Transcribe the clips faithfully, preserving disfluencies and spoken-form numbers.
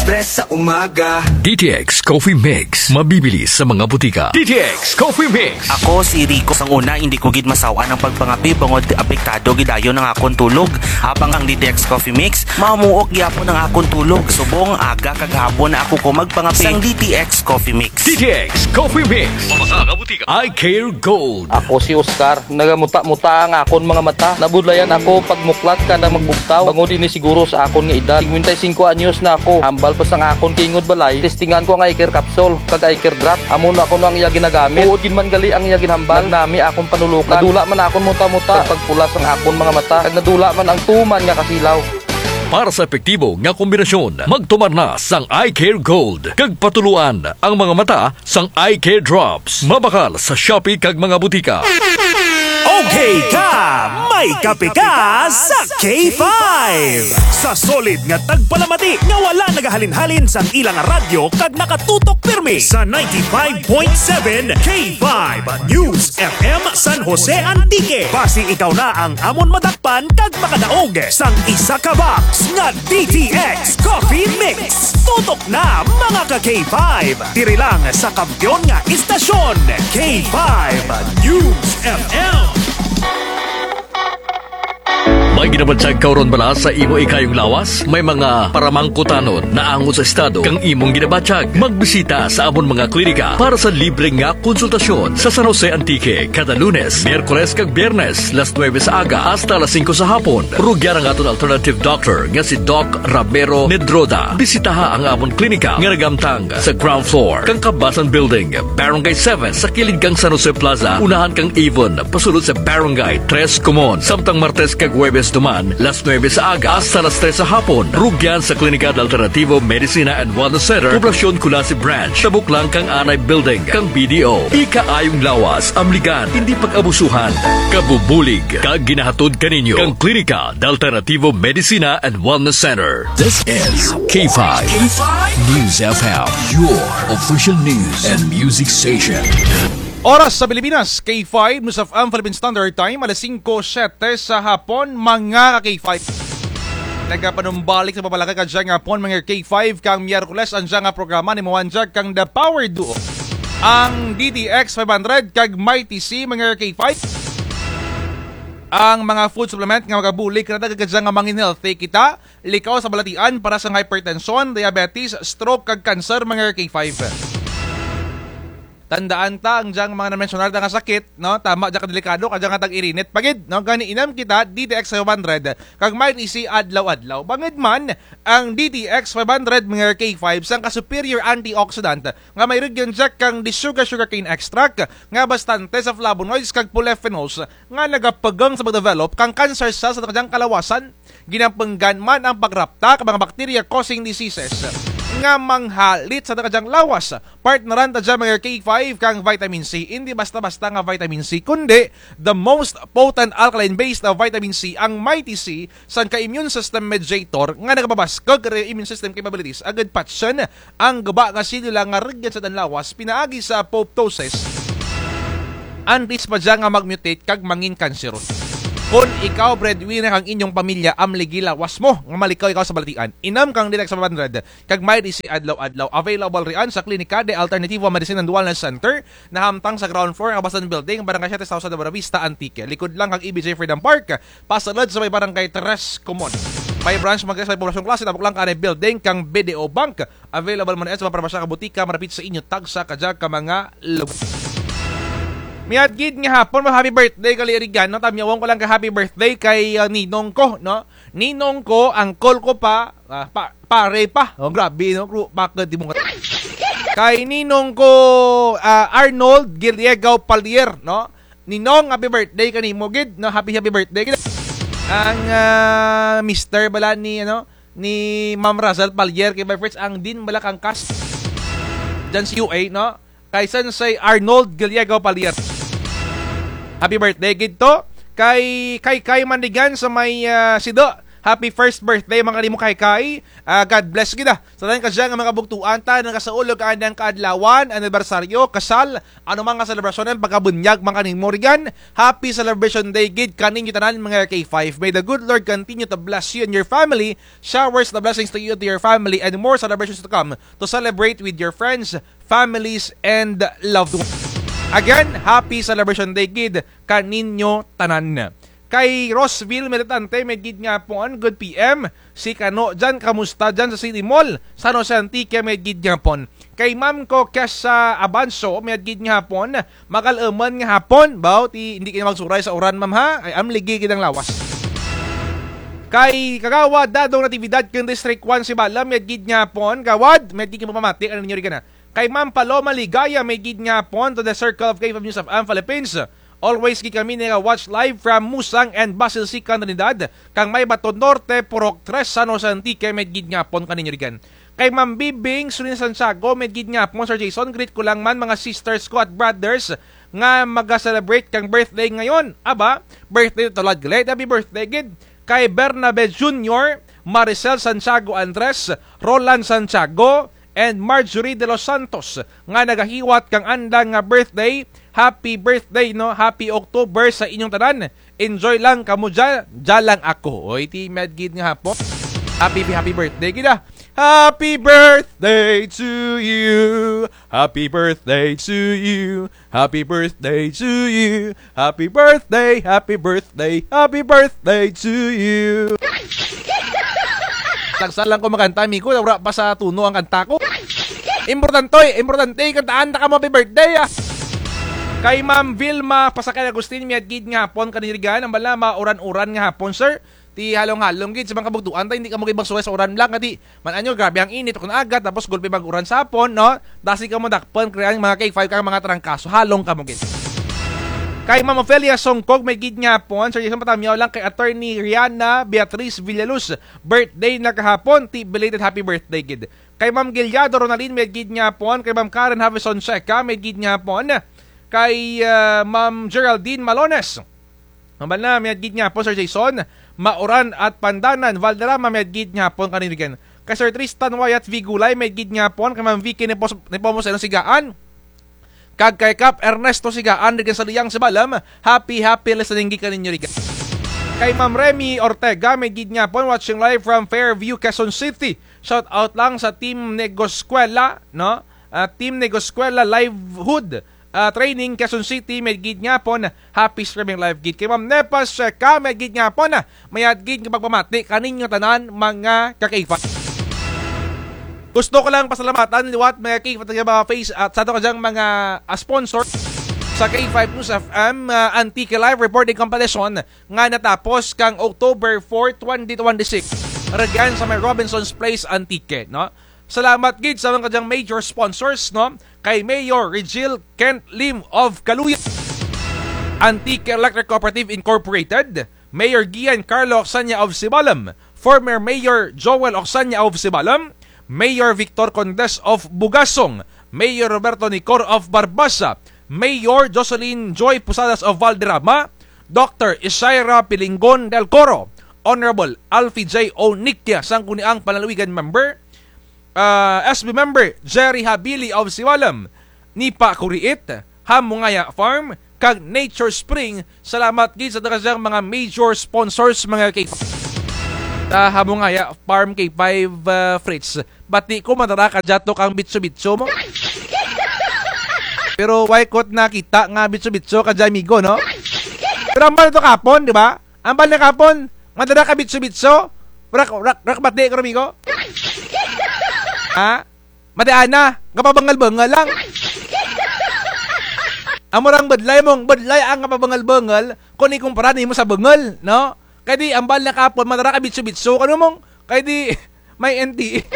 Press sa umaga. D T X Coffee Mix. Mabibili sa mga butika. D T X Coffee Mix. Ako si Rico. Sang una, hindi ko gid masaw-an ang pagpangape bangod apektado gid dayon ang akon tulog. Habang ang D T X Coffee Mix, mamuok gyapon ang akon tulog. Subong aga kag hapon na ako ko magpangape. Sang D T X Coffee Mix. D T X Coffee Mix. Mabasa nga butika. Eye Care Gold. Ako si Oscar. Nagamuta-muta ang akon mga mata. Nabudlayan ako pagmuklat kada magbugtaw. Bangod ini siguro sa akon nga edad. Singkwenta y singko anyos na ako. Hambal pa sang akon tingog balay. Testingan ko ang eye care capsule kag eye care drop. Amo na kuno ang iya ginagamit. Tuod gid man gali ang iya ginhambal. Nagnami akon panulokan. Nadula man akon muta-muta. Kag pagpula sang akon mga mata. Kag nadula man ang tuman nga kasilaw. Para sa epektibo nga kombinasyon, magtumar na sang Eye Care Gold. Kag patuloan ang mga mata sang Eye Care Drops. Mabakal sa Shopee kag mga butika. Okay ka, may kape ka sa K five. Sa solid nga tagpalamati nga wala nagahalin-halin sang ilang radyo kag nakatutok pirmi sa ninety-five point seven K five News F M San Jose Antique. Basi ikaw na ang amon madakpan kag makadaog sang isa ka box nga D T X Coffee Mix. Tutok na, mga ka K five. Diri lang sa kampiyon nga istasyon, K five News F M. May ginabatyag ka ron bala sa imo ikayong lawas? May mga paramangkutanon na angot sa estado kang imong ginabatyag? Magbisita sa amon mga klinika para sa libre nga konsultasyon sa San Jose Antique kada Lunes, Miyerkules kag Biyernes, las nuebe sa aga hasta las singko sa hapon. Rugyan ang aton alternative doctor nga si Doc Ramiro Medroda. Bisitaha ang amon klinika nga nagamtang sa ground floor kang Kabasan Building, Barangay seven, sa kilid kang San Jose Plaza, unahan kang Avon, pasulod sa Barangay Tres Comon. Samtang Martes kag Huwebes duman, las nuebe sa aga hasta las tres sa hapon. Rugyan sa Klinika de Alternativo Medicina and Wellness Center, Poblacion Culasi Branch, tabok lang kang Anay Building kang B D O. Ikaayong lawas, amligan, hindi pag-abusuhan. Kabubulig kag ginahatod kaninyo kang Klinika de Alternativo Medicina and Wellness Center. This is K five News F M, your official news and music station. Oras sa Pilipinas, K five News F M Philippine Standard Time, alas singko siyete sa hapon, mga ka K five. Nagapanumbalik sa pagpalakay kadya nga hapon, mga K five, kang Miyerkules ang dya nga programa ni Mawanjak kang The Power Duo. Ang D T X five hundred kag Mighty C, mga K five. Ang mga food supplement nga magabulig kanata kadya nga mangin healthy kita, likaw sa balatian para sa hypertension, diabetes, stroke, kag cancer, mga K five. Tandaan ta, ang dyang mga na-mensionar ta nga sakit, no? Tama, dya ka delikado, kadya nga tag-irinit pa gid, no? Gani inam kita, D T X five hundred, kag Mighty C adlaw-adlaw. Bangud man, ang D T X five hundred, mga K five, sangka superior antioxidant, nga may rugyan dya kang the sugar sugarcane extract, nga bastante sa flavonoids kag polyphenols, nga nagapagang sa pagdevelop kang cancer cells sa kadyang kalawasan, ginapunggan man ang pagrapta kang mga bacteria causing diseases nga manghalit sa kadyang lawas. Partneran ta dya mga K five kang vitamin C, hindi basta-basta nga vitamin C, kundi the most potent alkaline-based na vitamin C, ang Mighty C, sangka immune system mediator nga nagapabaskug kang immune system capabilities, agud patyon ang guba nga selula nga rugyan sa atun lawas pinaagi sa apoptosis. Antes pa dya nga mag-mutate kag mangin kanseron. Kon ikaw breadwinner kang inyong pamilya, amligi lawas mo nga malikaw ikaw sa balatian. Inam kang D T X five hundred kag Mighty C adlaw-adlaw. Available rian sa Klinika de Alternativo Medicine and Wellness Center, nahamtang sa ground floor kang Kabasan Building, Barangay Siete South sa Buena Vista, Antique. Likod lang kang E B J Freedom Park, pasulod sa may Barangay Tres Comon. May branch man dya sa may Poblacion Culasi, tabok lang kang Anay Building kang B D O Bank. Available man sa mga parmasya kag butika malapit sa inyo, tagsa kadya ka mga lugar. Mayad gid nga hapon, ma-happy birthday kang Lee Arigano. Tamyawan ko lang kang happy birthday kay, ah, ninong ko, no? Ninong ko, uncle ko pa, ah, pa, pare pa. Oh, grabe, no? Kru-, bakit di mo nga-, kay ninong ko, ah, Arnold Giliegao Palier, no? Ninong, happy birthday kanimo gid, no? Happy, happy birthday gid. Ang, ah, mister bala ni, ano, ni Ma'am Razal Palier kay Vice Prince, ang dean bala kang cast dyan sa U A, no? Kay Sensei Arnold Gallego Palier. Happy birthday gid to. Kay, kay, kay Mandigan sa may, ah, Sido. Happy first birthday, mga kanimo Kay Kay. Ah, God bless gid, ah. Sa tanan kadya nga mga kabugtuan ta, nagasaulog ka andang kaadlawan, anibersaryo, kasal, ano man nga selebrasyon, ang pagkabunyag, mga kanimo rigan. Happy celebration day gid kaninyo tanan, mga K five. May the good Lord continue to bless you and your family, showers the blessings to you and to your family, and more celebrations to come to celebrate with your friends, families, and loved ones. Again, happy celebration day gid kaninyo tanan. Kay Roseville Militante, may gid nga hapon, good P M. Si Kano dyan, kamusta dyan sa City Mall? San Jose Antique, may gid nga hapon. Kay Ma'am ko Kesa Abanso, may gid nga hapon. Magal-uman nga hapon. Baw, ti, hindi kayo magsuray sa uran, ma'am, ha? Ay, amligi gid ang lawas. Kay Kagawad Dadong Natividad, kang District one, Sibalom, may gid nga hapon. Gawad, may gid nga pamamati, ano ninyo rin ka na? Kay Ma'am Paloma Ligaya, may gid nga hapon to the circle of K five News F M Philippines. Always gid kami naka-watch live from Musang and Basilsica, Trinidad, kang Maybaton Norte, Purok tres, San Jose Antique, may gid nga hapon kaninyo rigan. Kay Ma'am Bibing, Sulina Santiago, may gid nga hapon, Sir Jason, greet ko lang man mga sisters ko at brothers nga maga-celebrate kang birthday ngayon. Aba, birthday to tulad galit, happy birthday gid. Kay Bernabe Junior, Maricel Santiago Andres, Roland Santiago, and Marjorie de los Santos nga nagahiwat kang andang nga birthday. Happy birthday, no? Happy October sa inyong tanan. Enjoy lang kamo dyan, dyan lang ako. Oy, ti, may gid nga hapon. Happy, happy birthday gid, ah. Happy birthday to you. Happy birthday to you. Happy birthday to you. Happy birthday, happy birthday, happy birthday to you. Tagsa lang ko makanta, amigo, wara pa sa tuno ang kanta ko. Importante, importante, kantaan ta kamo happy birthday, ah. Kay Ma'am Vilma Pasakay Agustin, may gid nga hapon kaninyo rigan, ang bala, mauran-uran nga hapon, sir. Ti halong-halong gid sa mga kabugtuan ta, hindi kamo gid magsuray sa uran lang, kadi man-an nyo, grabe ang init, kun aga, tapos gulpi mag-uran sa hapon, no? Dasi kamo dakpan, kaya ang mga K five kang mga trangkaso, halong kamo gid. Kay Ma'am Ofelia Songkog, may gid nga hapon, Sir Jason, patamyaw lang kay Attorney Rihanna Beatriz Villaluz, birthday na kahapon, ti belated happy birthday gid. Kay Ma'am Giliado Ronaldin, may gid nga hapon, kay Ma'am Karen Havison Seca, may gid nga hapon, kay, ah, Ma'am Geraldine Malones. Hambal na, may gid nga hapon, Sir Jason, Mauran at Pandanan, Valderrama, may gid nga hapon kaninyo rigan. Kay Sir Tristan Wyatt Vigulay, may gid nga hapon, kay Ma'am Vicky Nepos-, Nepomuceno Sigaan. Kag kay Kap Ernesto Sigaan, rigan sa Liang, Sibalom, happy, happy listening gid kaninyo rigan. Kay Ma'am Remy Ortega, may gid nga hapon, watching live from Fairview, Quezon City. Shout out lang sa Team Negoskwela, no? Ah, Team Negoskwela Livelihood ah, Training, Quezon City, may gid nga hapon, happy streaming live gid. Kay Ma'am Nepas Seca, may gid nga hapon, ah, may gid nga pagpamati kaninyo tanan, mga ka-K five. Gusto ko lang pasalamatan liwat, mga K five, nga mga face at sa ato kadyang mga, ah, sponsor sa K five News F M, ah, Antique Live Reporting Competition nga natapos kang October four, twenty twenty-six. Rigan sa may Robinson's Place, Antique, no? Salamat gid sa mga kadyang major sponsors, no? Kay Mayor Rigil Kent Lim of Caluya, Antique Electric Cooperative Incorporated, Mayor Gian Carlo Ocsanya of Sibalom, former Mayor Joel Ocsanya of Sibalom, Mayor Victor Condes of Bugasong, Mayor Roberto Nicor of Barbaza, Mayor Jocelyn Joy Posadas of Valderrama, Doctor Isaira Pilingon del Coro, Honorable Alfie J. Onikia, Sangguniang Panlalawigan member, ah, S B member Jerry Habili of Sibalom, Nipa Kuriit, Hamungaya Farm, kag Nature Spring. Salamat gid sa tanan kadyang mga major sponsors, mga K five. Ta Hamungaya Farm, K five, ah, Fritz. Bati ko, madara kadya to kang bitso-bitso mo. Pero wala ko nakita nga bitso-bitso kadya, amigo, no? Pero hambal to kahapon, di ba? Hambal na kahapon, madara ka bitso-bitso. Rak, rak, rak, bati ko, amigo. Ha? Mati ana, kapabangal-bangal lang. Amo rang budlay mong, budlay ang kapabangal-bangal, kun ikumpara nimo sa bangal, no? Kay di, hambal na kahapon, madara ka bitso-bitso, kano mong, kay di, may N T E.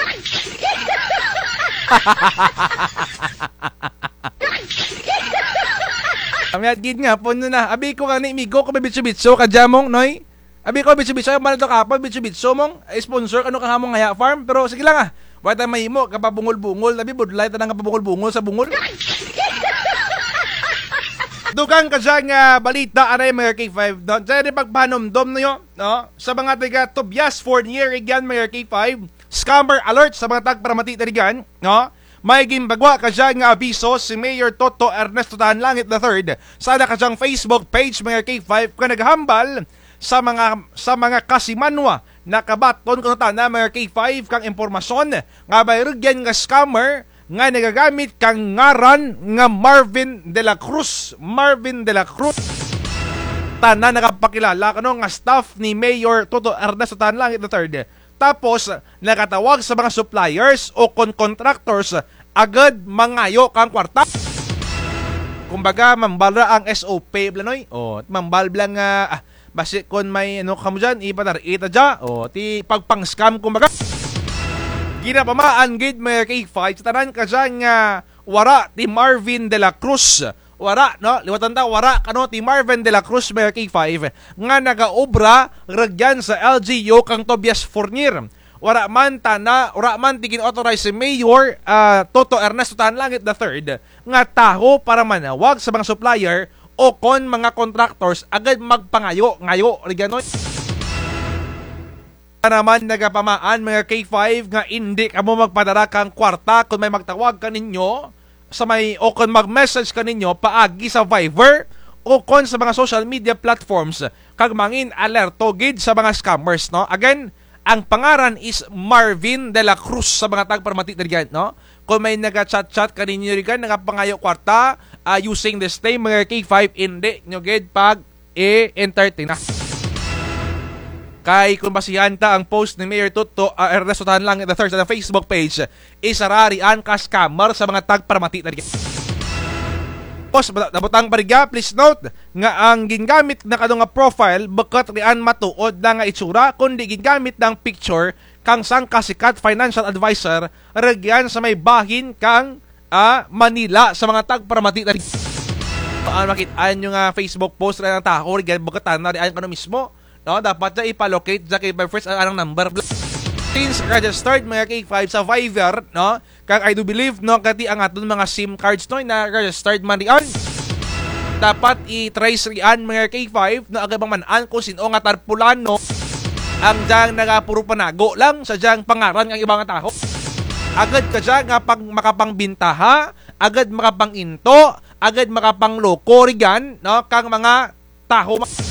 Kami at gid nga, puno na. Abi ko gani, migo ko, may bitso-bitso, kadya mong, noy? Abi ko, bitso-bitso, hambal to kahapon, bitso-bitso mong, eh, sponsor, kano kang Hamungaya Farm? Pero sige lang, ah. Wala tayong mahimo, kapabungol-bungol, tabi budlay, tanang kapabungol-bungol sa bungol. Dugang kadya nga balita anay, mga K five, no? Dyan rin pagpahanumdom ninyo, no? Sa mga taga Tobias Fornier, rugyan, mga K five, scammer alert sa mga tagparamati na rugyan, no? May ginpagwa kadya nga abiso si Mayor Toto Ernesto Tanlangit the third sa ana kadyang Facebook page, mga K five, nga nagahambal sa mga, sa mga kasimanwa. Nakabaton kano tana, mga K five, kang impormasyon nga may rugyan nga scammer nga nagagamit kang ngaran nga Marvin de la Cruz. Marvin de la Cruz. Tana nakapakilala kano nga staff ni Mayor Toto Ernesto Tanlangit the third. Tapos, nakatawag sa mga suppliers o kon contractors, agud mangayo kang kwarta. Kumbaga, mambal ra ang S O P, bala, noy. O, mambal bala nga, ah, basi kon may, ano, kamo dyan, ipadar-i ta dya. O, ti pagpang-scam, kumbaga. Ginapamaan gid, mga K five, sa tanan kadya nga wara ti Marvin de la Cruz. Wara, no? Liwatan ta, wara kano ti Marvin de la Cruz, mga K five, nga nagaobra rugyan sa L G U kang Tobias Fornier. Wara man tana, wara man ti gin-authorize si Mayor, ah, Toto Ernesto Tanlangit the third nga taho para manawag sa mga supplier o kon mga contractors agud magpangayo-ngayo rugyan, noy. Tana man nagapamaan, mga K five, nga indi kamo magpadara kang kwarta kon may magtawag kaninyo sa may, o kon mag-message kaninyo paagi sa Viber o kon sa mga social media platforms, kag mangin alerto gid sa mga scammers, no? Again, ang pangaran is Marvin de la Cruz sa mga tagparamati na rugyan, no? Kon may naga-chat-chat kaninyo rugyan, nagapangayo kwarta, ah, using this name, mga K five, indi nyo gid pag i-entertain na. Kay kon basihan ta ang post ni Mayor Toto, ah, Ernesto Tanlangit the third sa Facebook page, isara rian ka scammer sa mga tagparamati na rugyan. Tapos, nabutang pa rugya, please note nga ang gingamit na kano nga profile, bukut rian matuod lang nga itsura, kundi gingamit na ang picture kang sangka sikat financial advisor rugyan sa may bahin kang, ah, Manila sa mga tagparamati na rugyan. Ah, makit-an nyo nga Facebook post rian ang taho rugyan, bukut tana rian kano mismo, no? Dapat dya ipa-locate dya, K five Friends, ang anang number. Since registered, mga K five, sa Viber, no? Kag I do believe, no, kay ti ang aton mga SIM cards, no, na registered man rian. Dapat i-trace rian, mga K five, no, agud bang man-an kon sin-o nga tarpulano ang dyang nagapuro panago lang sa dyang pangaran kang iba nga taho. Agud kadya nga pag-, makapangbintaha, agud makapang-into, agud makapangloko rugyan, no, kang mga taho ma-,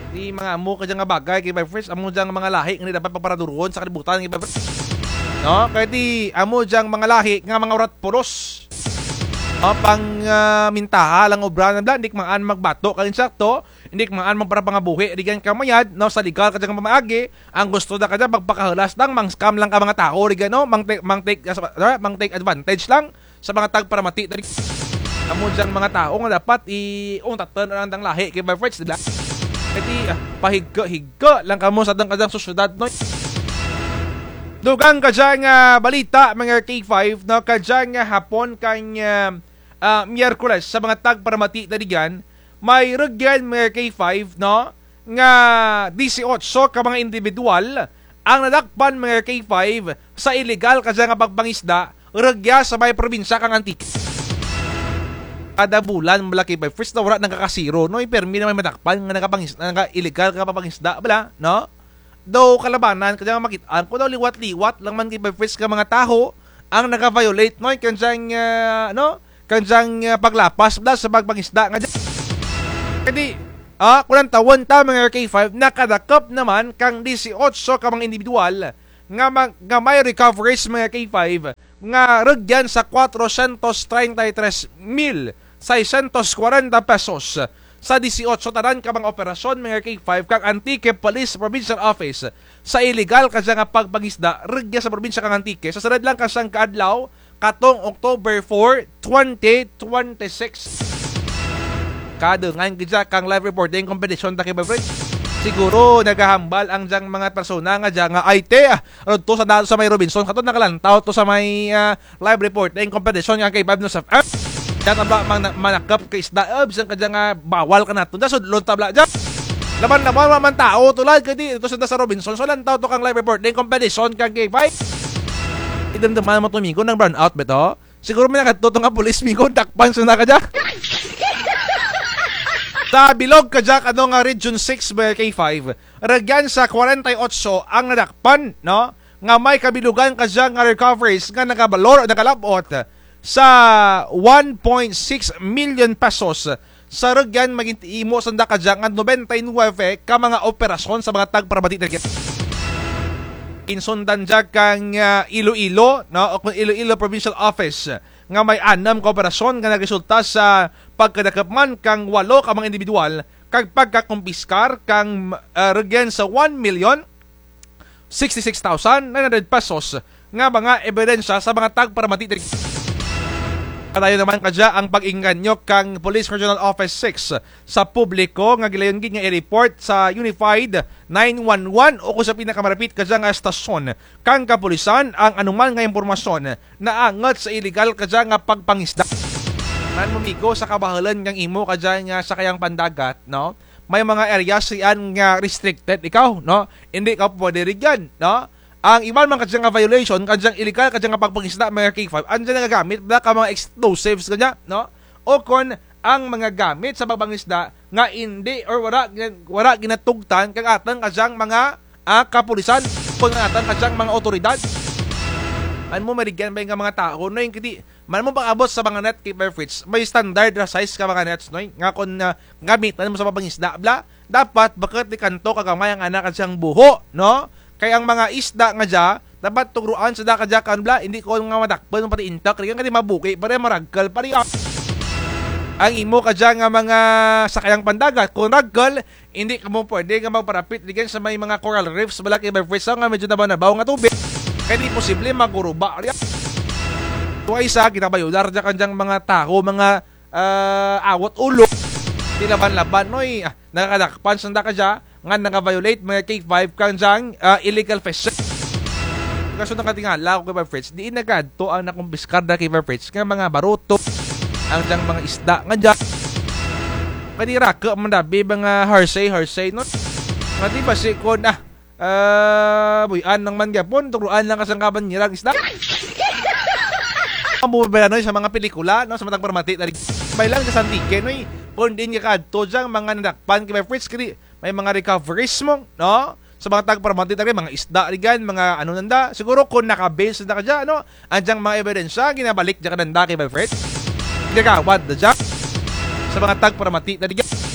ti mga amo kadya nga bagay, K five Friends, amo dyang mga lahi nga indi dapat pagparaduron sa kalibutan, K five Friends. No? Kay ti amo dyang mga lahi nga mga urat pulos. No? Pang, ah, mintaha lang obra na bala, indi man-an magbato kang insakto, indi man-an magparapangabuhi rugyan kang mayad, no, sa legal kadya nga pamaagi, ang gusto na kadya magpakahulas lang, mang-scam lang kang mga taho rugyan, no, mang-take, mang-take, ah, mang-take advantage lang sa mga tagparamati na rugyan. Amo dyang mga taho nga dapat i-, untatan ang andang lahi, K five Friends, di bala? Kay ti, ah, pahigka-higka lang kamo sa andang kadyang sosyedad, no? Dugang kadya nga balita, mga K five, no, kadya nga hapon kang, ah, ah, Miyerkules sa mga tagparamati na rugyan, may rugyan, mga K five, no, nga disiotso ka mga indibidwal ang nadakpan, mga K five, sa ilegal kadya nga pagpangisda rugya sa may probinsya kang Antique. Kada bulan bala, K five Friends, na wara nagakasiro, no? Pirmi na may madakpan nga nagapangis-, naga-ilegal nga pagpangisda bala, no? Daw kalabanan kadya nga makit-an ko, daw liwat-liwat lang man, K five Friends, ka mga taho ang naga-violate, no? Kang dyang, ah, no? Kang dyang, ah, paglapas bala sa pagpangisda nga dya. Kay ti, ah, kon lantawun ta, mga K five, nakadakup na man kang disiotso ka mga indibidwal nga mag-, nga may recoveries, mga K five, nga rugyan sa cuatrocientos treinta y tres mil seiscientos cuarenta pesos sa disiotso tanan ka mga operasyon, mga K five, kang Antique Police Provincial Office sa ilegal kadya nga pagpangisda rugya sa probinsya kang Antique sa sulud lang ka sangka adlaw katong October four, twenty twenty-six. Kadungan kadya kang live reporting competition ta, K five Friends. Siguro nagahambal ang dyang mga persona nga dya nga, "Ay, te, ah, rugto sa dato sa may Robinson, kato nakalantaw to sa may, ah, live reporting competition kang K five News F M. Dya ta bala mang-, manakup ka isda, ah, bisan kadya nga bawal kanato. Dya sudlon ta bala dya." Laban-laban man tawo to, lad, kay ti, to sa, sa Robinson, so lantaw to kang live reporting competition kang K five. Idumduman mo to, migo, nang-brownout ba to? Siguro may nakadto to nga pulis, migo, dakpan sanda kadya. Sa bilog kadya kano nga Region six, mga K five, rugyan sa kwarenta y otso ang nadakpan, no? Nga may kabilugan kadya nga recoveries nga nagabalor o nagalab-ot sa one point six million pesos. Sa rugyan, maging imo sanda kadya nga nobenta y nuwebe ka mga operasyon sa mga tagparamati rugyan. Insundan dya kang, ah, Iloilo, no? O kung Iloilo Provincial Office, nga may anam ka operasyon nga nagresulta sa pagkadakop man kang walo ka mga individual kag pagkakumpiskar kang, ah, rugyan sa one million sixty-six thousand nine hundred pesos nga mga ebidensya sa mga tagparamati diri. Padayon naman kadya ang pag-engganyo kang Police Regional Office six sa publiko nga gilayon gid nga i-report sa Unified nine one one o kung sa pinakamarapit kadya nga estasyon kang kapulisan ang anuman nga impormasyon naangot sa iligal kadya nga pagpangisda. Man mo, migo, sa kabahalan kang imo kadya nga sakayang pandagat, no? May mga areas riyan nga restricted ikaw, no? Indi ka pwede rugyan, no? Ang iban man kadya nga violation, kadya nga iligal kadya nga pagpangisda, mga K five, andyan nagagamit bala ka mga explosives kadya, no? O kon ang mga gamit sa pagpangisda nga indi or wara gina-, wara ginatugtan kag atang kadya nga mga, ah, kapulisan, kon atang kadya nga mga awtoridad. Man mo, may rugyan bay nga mga tawo, no, yung kiti, man mo pag-abot sa mga net, K five Fritz, may standard ra size ka mga nets, no, nga kon, ah, gamitan mo sa pagpangisda bala, dapat bukut ti kanto kagamay ang ana kadya nga buho, no? Kay ang mga isda nga dya, dapat tugroan sanda kadya kan bala, indi kon nga madakpan pati intak, rugyan kay mabuki pa rin, maragkal pa rin, ah. Ang imo kadya nga mga sakayang pandagat, kon ragkal, indi kamo pwede nga magparapit rugyan sa may mga coral reefs bala, K five Fritz, nga medyo nabaw-nabaw nga tubig. Kay di posible maguruba rugyan. Tuwa isa, ginabayular dya kadyang mga tawo, mga ah, awat ulo, ti laban-laban, noy, ah, nakakadakpan sanda kadya nga naka-violate mga K five kang dyang, ah, illegal fishing. Kaso nakatingala ko, K five Fritz, diin na kadto ang nakumpiskar da, K five Fritz, nga mga baruto, ang dyang mga isda nga dya. Kadi rake man dabi mga hearsay, hearsay, no? Nga di basi kon, ah, Ah, buy-an lang man gihapon, tugroan lang kasangkaban nira ang isda. Amo bala, noy, sa mga pelikula, no, sa mga tagparamati, tari. May lang sa Antique, noy, kon diin ka kadto dyang mga nadakpan, K five Fritz, kadi may mga recoveries mo, no? Sa mga tagparamati, tari, mga isda, rugyan, mga ano nanda. Siguro kon naka-base na kadya, no? Ang dyang mga ebidensya, ginabalik dya kananda, K five Fritz. Ginagawad na dya. Sa mga tagparamati, tari, rugyan.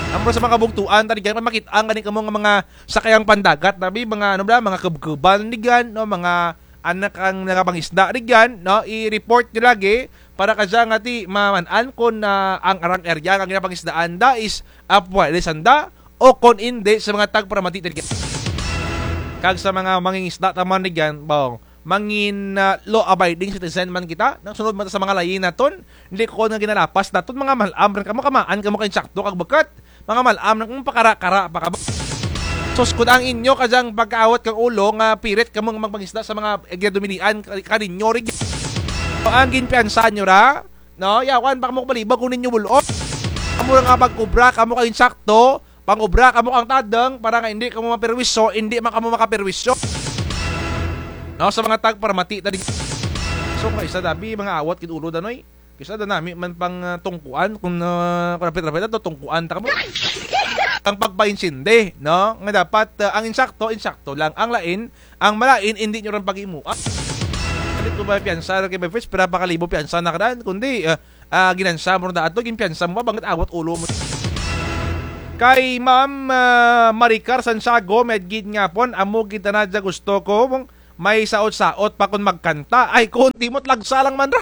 Amo sa mga kabugtuan, tari, rugyan, makit-an gani kamo nga mga sakayang pandagat, dabi, mga ano bala, mga kubkuban rugyan, no, mga anak ang nagapangisda rugyan, no, i-report nyo lagi para kadya nga ti maman-an kon, ah, ang arang area nga ginapangisdaan da is, ah, pwede sanda o kon indi sa mga tagparamati rugyan. Kag sa mga mangingisda ta man rugyan, bawang mangin, ah, law-abiding citizen man kita, nagsunod man ta sa mga layi naton, indi kon nga ginalapas naton, mga mal-am run kamo, kamaan kamo ka insakto kag bukut, mga mal-am run kamo, pakara-kara pa kamo. Sus, kon ang inyo kadyang pagkaawat kang ulo nga pirit kamo nga magpangisda sa mga ginadumilian ka-, kaninyo rugyan. Ang ginpiyansa nyo ra, no, yawan pa kamo kabalibog kon inyo bul-on. Amo ra nga pag-obra kamo ka insakto, pang-obra kamo kang tadang para nga indi kamo maperwisyo, indi man kamo makaperwisyo. No, sa mga tagparamati tadi. So, kaysa dabi, mga awat gid ulo da, noy. Kaysa da nami man pang, ah, tungkuan, kon, ah, kon rapit-rapit ato, tungkuan ta kamo. Ang pagpaintindi, no? Nga dapat, ah, ang insakto, insakto lang. Ang lain, ang malain, indi nyo run pag-imuan. Indi ko ba piyansa ra kay Bevers, pira pa ka libo piyansa na karan, kundi, ah, ah, ginansa mo run da ato, ginpiyansa mo pa, bangud awat ulo mo. Kay Ma'am, ah, Maricar Santiago, mayad gid nga hapon, amo gid tana dya gusto ko, may saot-saot pa kon magkanta. Ay, kon ti mo, talagsa lang man ra.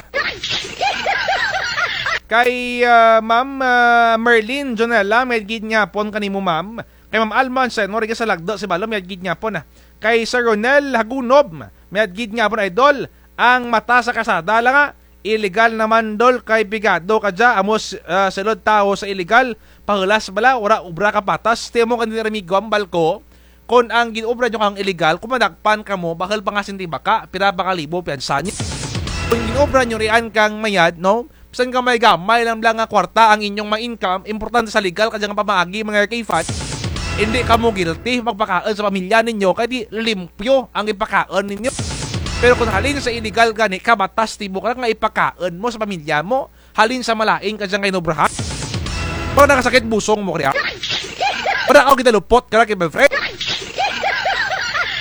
Kay, ah, Ma'am, ah, Merlin Jonella, mayad gid nga hapon kanimo, ma'am. Kay Ma'am Alma Anselmo, rugya sa Lagda, Sibalom, mayad gid nga hapon, ah. Kay Sir Ronel Hagunob, mayad gid nga hapon, idol. Ang mata sa kasada lang, ah. Illegal naman, dol, kay pigado ka dya, amo s-, ah, sulod tawo sa illegal, pahulas bala, wara obra ka patas, ti amo kani ramigo, ambal ko, kon ang gin-obra nyo kang illegal, kon madakpan kamo, bahul pa nga sinti baka, pira pa ka libo piyansa nyo. Kon gin-obra nyo riyan kang mayad, no? Bisan gamay-gamay lang bala nga kwarta ang inyong ma-income, importante sa legal kadya nga pamaagi, mga K five. Indi kamo guilty, magpakaun sa pamilya ninyo, kay di limpyo ang ipakaun ninyo. Pero kon halin sa illegal gani, kabatas ti mo ka nga ipakaun mo sa pamilya mo, halin sa malain kadya nga inobrahan. Wara nakasakit busong mo kaya? Wara ka ginalupot kara K five friends?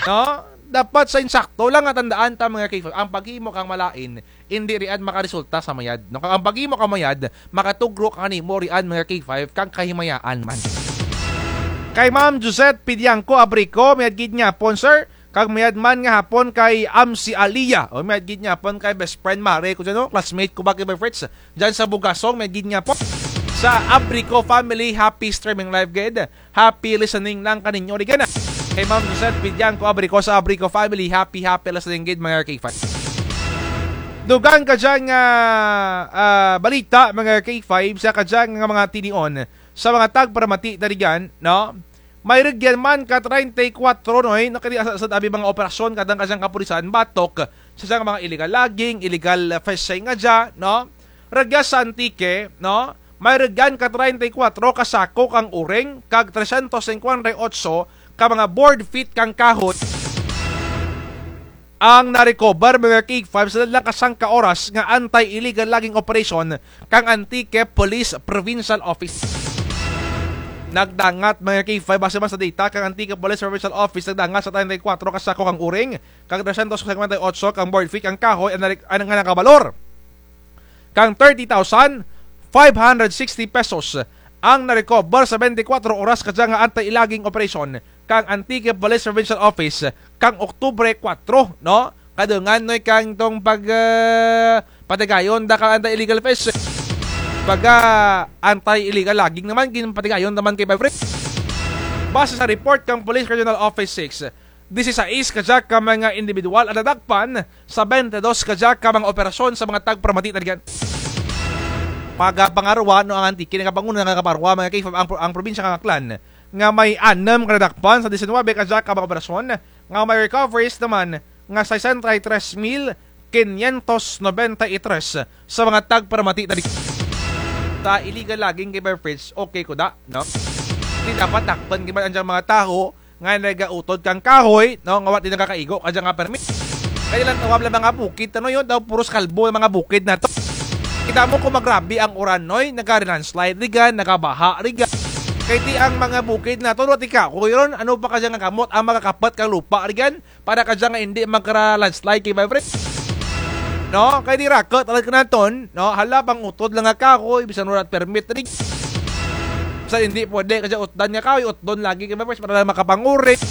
No? Dapat sa insakto lang nga tandaan ta, mga K five, ang paghimo kang malain, indi riyan makaresulta sa mayad. No? Kag ang paghimo kang mayad, makatugro kanimo riyan, mga K five, kang kahimayaan man. Kay Ma'am Josette Pidiangco Abrico, mayad gid nga hapon, sir. Kag mayad man nga hapon kay Amsi Alia. O, mayad gid nga hapon kay best friend, mare ko dyan, no? Classmate ko ba, K five friends? Dyan sa Bugasong, mayad gid nga hapon. Sa Abrico family, happy streaming live gid. Happy listening lang kaninyo, di gana. Kay Ma'am Josette Pidiangco Abrico sa Abrico family, happy, happy listening gid, mga K five. Dugang kadya nga, ah, balita, mga K five, sa kadya nga mga tinion, sa mga tagparamati, tarigan, no? May rugyan man ka treinta y cuatro, no, eh, no, kini sa, sa abi mga operasyon, kadang kadya kapulisan, batok, sa dya mga illegal logging, illegal, ah, fishing nga dya, no? Rugya sa Antique, no? May rugyan ka treinta y cuatro ka sako kang uring, kag tresyentos singkwenta y otso ka mga board feet kang kahoy ang na-recover, mga K five, sa lang ka sangka oras nga anti-illegal logging operation kang Antique Police Provincial Office. Nagdangat, mga K five, base man sa data kang Antique Police Provincial Office, nagdangat sa treinta y cuatro ka sako kang uring, kag tresyentos singkwenta y otso kang board feet kang kahoy ang, ang nga nakabalor kang thirty thousand five hundred sixty pesos ang na-recover sa bente kwatro oras kadya nga anti-logging operation kang Antique Police Provincial Office kang Oktubre kwatro, no? Kadungan, no, kang tong pag, ah, patigayon da kang anti-illegal fish. Baga anti-illegal logging naman, ginpatigayon naman, K five friends. Base sa report kang Police Regional Office six, disisais kadya ka mga individual ang nadakpan sa bente dos kadya ka mga operasyon sa mga tagparamati, tarigan. Pagapangarwa, no, ang Antique, nagapanguna, nagaparwa, mga K five, ang, ang probinsya kang Aklan, nga may anum ka nadakpan sa disinwabe kadya ka mga operasyon, nga may recoveries naman nga sesenta y tres mil quinientos noventa y tres sa mga tagparamati, tarigan. Sa illegal logging, K five friends, okay ko da, no? Di dapat dakpan gid man ang dyang mga tawo nga nagautod kang kahoy, no, nga wara ti nakakaigo kadya nga permit. Kay lantaw lang mga bukid, ano yun? Daw puros kalbo ang mga bukid nato. Kita mo kung magrabe ang uran, noy, nagari-landslide rigan, nagabaha rigan. Kay ti ang mga bukid nato, wara ti kahoy ron, ano pa kadya nga gamot ang makakapat kang lupa rigan para kadya nga indi magkara-landslide, K five friends. No, kay ti raket talaga naton, no, hala, pang-utod lang nga kahoy, bisan wara permit rig. Bisan indi pwede kadya utdan nga kahoy, utdon lagi, K five friends, para lang makapang-uring,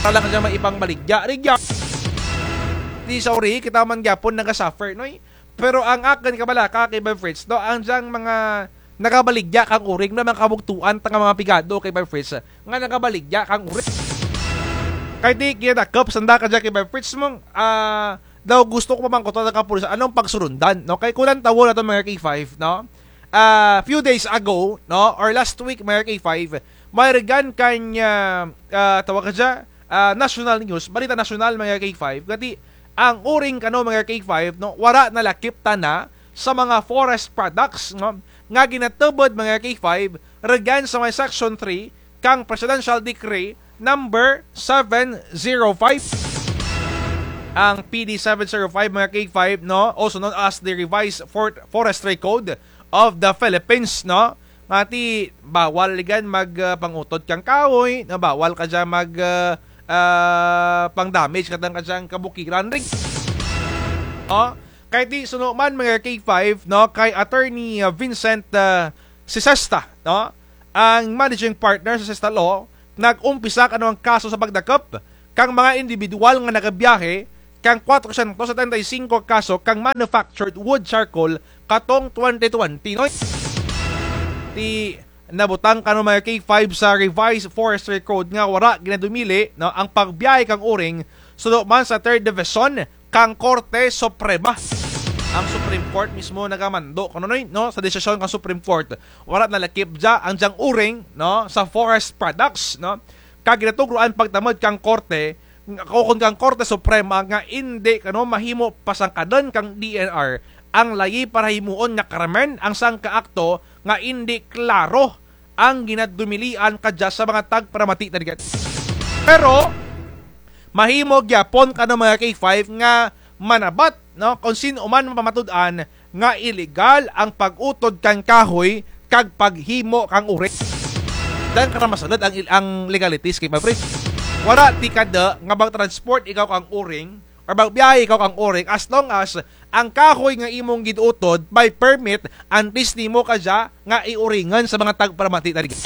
para lang kadya maipangbaligya rig. Ti sorry, kita man gyapon naga-suffer, noy. Pero ang akun kabalaka, K five friends, no, ang dyang mga nagabaligya kang uring, no, mga kabugtuan ta nga mga pigado, K five friends, nga nagabaligya kang uring. Kay ti ginadakop sanda kadya, K five friends, mong, ah, daw gusto ko pamangkuton ang kapulisan, anong pagsurundan, no? Kay kung lantawon naton, mga K five, no? Ah, few days ago, no, or last week, mga K five, may rugyan kang, ah, ah, tawag kadya, ah, national news, balita nasyonal, mga K five, nga ti ang uring kano, mga K five, no, wara nalakip tana sa mga forest products, no, nga ginatubod, mga K five, rugyan sa may Section three kang Presidential Decree number seven zero five. Ang P D seven zero five, mga K five, no, also known as the Revised For-, Forestry Code of the Philippines, no? Nga ti bawal rigan mag, ah, pangutod kang kahoy, no? Bawal kadya mag, ah, ah, pang-damage kadang kadyang kabukiran rig. No? Kay ti suno man, mga K five, no, kay Attorney, ah, Vincent, ah, Sesesta, no? Ang managing partner sa Sesesta Law, nag-umpisa kano ang kaso sa pagdakop kang mga individual nga nagabiyahe kang kwatrosyentos setenta y singko kaso kang manufactured wood charcoal katong twenty twenty, no? Ti nabutang kano, mga K five, sa Revised Forestry Code nga wara ginadumili, no, ang pagbiyahe kang uring suno man sa Third Division kang Korte Suprema. Ang Supreme Court mismo nagamando kano, noy, no, sa desisyon kang Supreme Court. Wara nalakip dya ang dyang uring, no, sa forest products, no. Kag ginatugruan pagtamod kang korte, o kon kang Korte Suprema nga indi kano mahimo pasangkadun kang D N R ang layi para himuon nga krimen ang sangka akto nga indi klaro ang ginadumilian kadya sa mga tagparamati, tarigan. Pero mahimo gyapon kano, mga K five, nga manabat, no, kon sin-o man mapamatud-an nga iligal ang pag-utod kang kahoy kag paghimo kang uring. Dyan kara masalud ang, il-, ang legalities kay, my friend. Wara ti kada nga mag-transport ikaw kang uring or magbiyahe ikaw kang uring, as long as ang kahoy nga imong gin-utod may permit, antes nimo kadya nga iuringan sa mga tagparamati ta rugyan.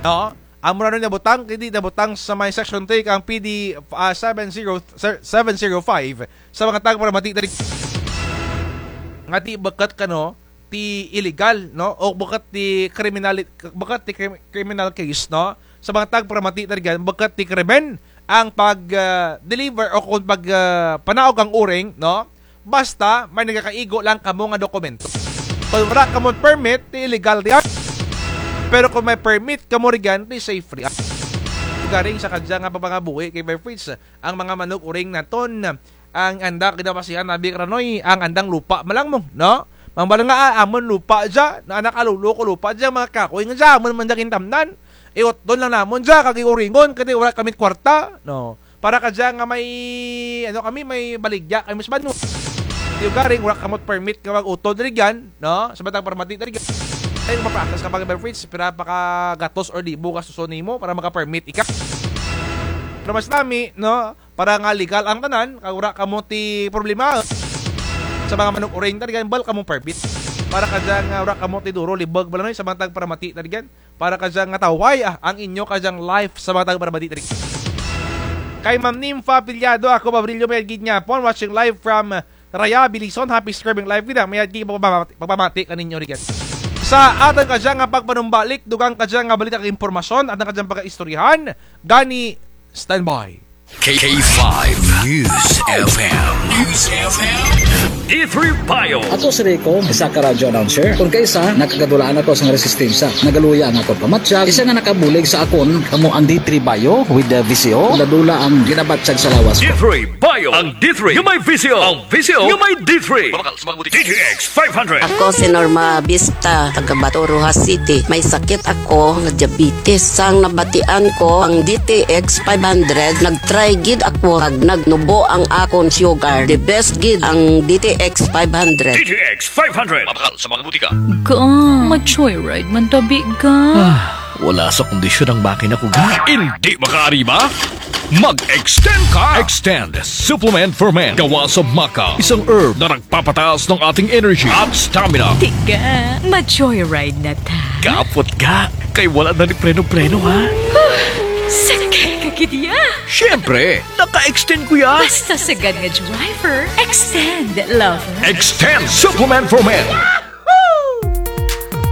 No? Amo ra no nabutang, kay ti nabutang sa may section three kang P D, ah, seven zero, seven zero five sa mga tagparamati ta rugyan. Nga ti bukut kano, ti illegal, no? O bukut ti criminali-, bukut ti crim-, criminal case, no? Sa mga tagparamati ta rugyan, bukut ti krimen ang pag, ah, deliver o kon pag, ah, panaog kang uring, no? Basta may nagakaigo lang kamo nga dokumento. Kon wara kamo permit, ti illegal rugyan. Pero kon may permit kamo rugyan, ti safe rugyan. Garing sa kadya nga pagpangabuhi kay Mayor Fritz, ang mga manug-uring naton, ang anda gid basihan abi kara noy, ang andang lupa man lang mo, no? Mambal nga, ah, amon lupa dya, na anak a lolo ko lupa dya, mga kahoy nga dya, amon man dya gintamnan. Iutdon lang namon dya, kag iuringon, kay ti wara kami kwarta, no? Para kadya nga may, ano kami, may baligya kami sa banwa. Ti garing, wara kamo permit nga mag-utod rugyan, no? Sa mga tagparamati ta rugyan. Ay, mapratas ka pa, Mayor Fritz, pira pa ka gatos or libo gastuson nimo para maka-permit ika. Pero mas nami, no? Para nga legal ang tanan, kag wara kamo ti problema. Sa mga manug-uring ta rugyan, bal kamo permit. Para kadya nga wara kamo ti duro, libag bala noy, sa mga tagparamati ta rugyan. Para kadya nga tawhay, ah, ang inyo kadyang life sa mga tagparamati ta rugyan. Kay Ma'am Nympha Piliado, ako, Babrillo, mayad gid nga hapon, watching live from Raya, Belison, happy scrubbing live gid, ah, mayad gid pagpamati, pagpamati kaninyo rugyan. Sa atun kadya nga pagpanumbalik, dugang kadya nga balita kag impormasyon, atun kadyang pagaistoryahan, gani, standby. K five News F M. News F M. D three Bio. Ako si Rico, isa ka radyo announcer. Kon kaisa, nakagadulaan ako sa resistensya. Nagaluya ang akon pamatyag. Isa nga nakabulig sa akon, kamo ang D three Bio with the V C O. Dula-dula ang ginabatyag sa lawas ko. D three Bio. Ang D three nga may V C O. Ang V C O nga may D three. Mabakal sa mga butika. D T X five hundred. Ako si Norma Vista, taga Bato, Roxas City. May sakit ako nga diabetes. Sang nabatian ko ang D T X five hundred, nag-try gid ako kag nagnubo ang akon sugar. The best gid ang D T X five hundred. D T X five hundred. Mabakal sa mga butika. Ga, ma-joyride man tabi, ga. Ah, wala sa kondisyon ang makina ko, ga. Hindi makaari ba? Mag-extend ka! Extend Supplement for Men. Gawa sa maca, isang herb na nagpapataas ng ating energy at stamina. Tiga, ma-joyride na ta. Kapot ga, kay wala na ni preno-preno, ha? Sakay ka gid ya. Siyempre, naka-extend ko ya. Basta sagad nga driver, extend, lover. Extend Supplement for Men.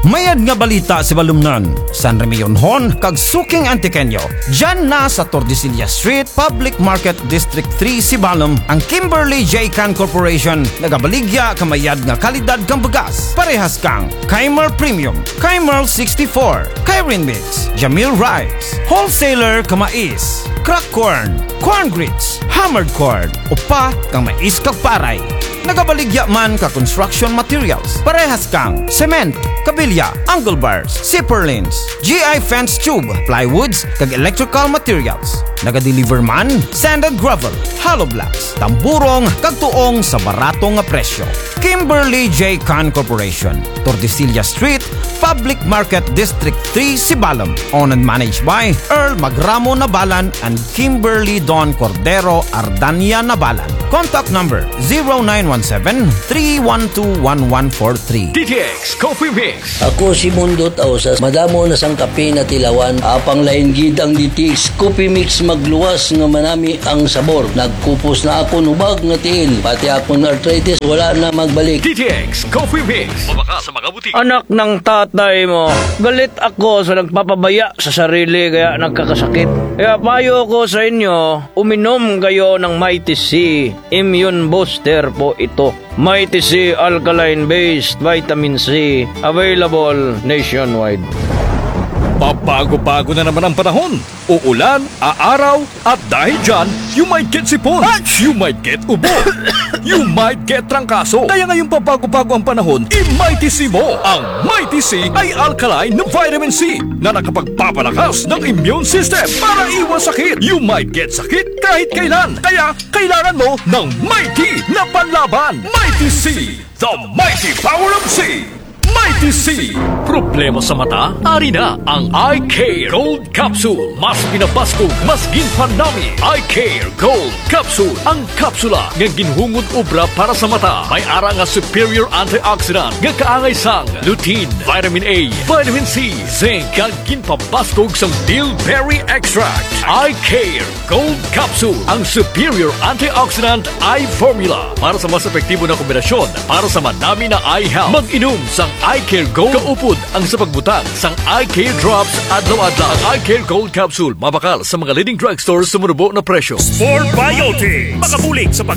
Mayad nga balita, Sibalomnon, San Remillionon, kag suking Antiqueño. Dyan na sa Tordesillas Street, Public Market, District three, Sibalom, ang Kimberly J Can Corporation, nagabaligya ka mayad nga kalidad kang bugas. Parehas kang Kaimer Premium, Kaimer sixty-four, Kairin Mix, Jamil Rice, wholesaler ka mais, crack corn, corn grits, hammered corn, upa kang mais kag paray. Nagabaligya man ka construction materials, parehas kang cement, kabilya, angle bars, C purlins, G I fence tube, plywoods, kag electrical materials. Nagadeliver man, sand and gravel, hollow blocks, tamburong, kag tuong sa barato nga presyo. Kimberly J Can Corporation, Tordesillas Street, Public Market, District three, Sibalom. Owned and managed by Earl Magramo Nabalan and Kimberly Don Cordero Ardania Nabalan. Contact number zero nine one seven, three one two, one one four three. D T X Coffee Mix. Ako si Mundo Tausas, madamo na sang kape natilawan, apang lain gid ang D T X Coffee Mix, magluwas nga manami ang sabor. Nagkupos na akon hubag nga tiil, pati akon arthritis wala na magbalik. D T X Coffee Mix. Mabakal sa mga butika. Anak ng tatay mo, galit ako sa nagpapabaya sa sarili kaya nagkakasakit. Kaya payo ko sa inyo, uminom kayo ng Mighty C. Immune booster po ito. Mighty C Alkaline Based Vitamin C, available nationwide. Pabago-bago na naman ang panahon. Uulan, aaraw, at dahil dyan, you might get sipon, you might get ubo, you might get trangkaso. Kaya ngayong pabago-bago ang panahon, i-Mighty C mo. Ang Mighty C ay alkaline na vitamin C na nakapagpapalakas ng immune system para iwas sakit. You might get sakit kahit kailan. Kaya kailangan mo ng Mighty na panlaban. Mighty C, the mighty power of C. Mighty C! Problema sa mata? Ari na ang Eye Care Gold Capsule. Mas pinabaskog, mas ginpanami. Eye Care Gold Capsule. Ang kapsula nga ginhungod obra para sa mata. May ara nga superior antioxidant nga kaangay sang lutein, vitamin A, vitamin C, zinc, kag ginpabaskog sang bilberry extract. Eye Care Gold Capsule, ang superior antioxidant eye formula para sa mas epektibo na kombinasyon para sa manami na eye health. Mag-inom sang Eye Care Gold kaupod ang sa pagbutang sang Eye Care Drops adlaw-adlaw. Ang Eye Care Gold Capsule mabakal sa mga leading drugstore sa manubo na presyo. Sport Biotic, makabulig sa